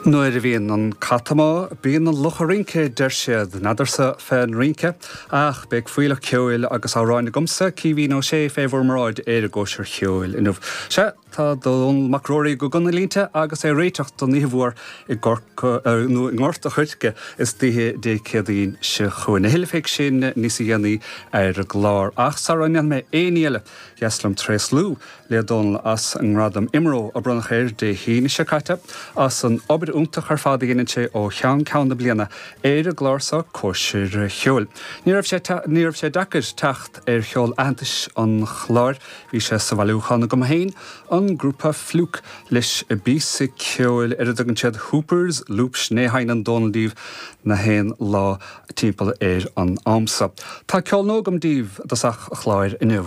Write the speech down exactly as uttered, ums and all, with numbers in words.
Nuair a bhíonn an cat amuigh, bíonn an luch ag rince, deir siad. N'fheadarsa fén rince, ach beidh fuílleach ceoil agus amhráin agamsa, Caoimhín Ó Sé, fé bhur mbráid ar an gcóisir cheoil inniu. Sea, tá Dónall Mac Ruairí go dona línte agus é ag réiteach don oíche mhór i gCorca, nó i nGort a' Choirce istoíche Dé Céadaoin seo chugainn. A thuilleadh fé sin níos dhéanaí ar an gclár. Ach sara ndéanfaidh mé aon ní eile, ba dheas liom tréaslú le Dónall as an ngradam IMRO a bronnadh air Dé hAoine seo caite, as an obair iontach ar fad a dhéanann sé ó cheann ceann na bliana ar an gclár seo Cóisir Cheoil. Ní raibh sé ní raibh sé deacair teacht ar cheol aitheantais an chláir, bhí sé sa bhailiúchán agam féin, an grúpa Fluke leis an bpíosa ceoil ar a dtugann siad Hoopers Loop sin é a sheinneann Dónall daoibh na haon lá timpeall ar an am seo. Tá ceol nua agam daoibh i dtosach an chláir inniu.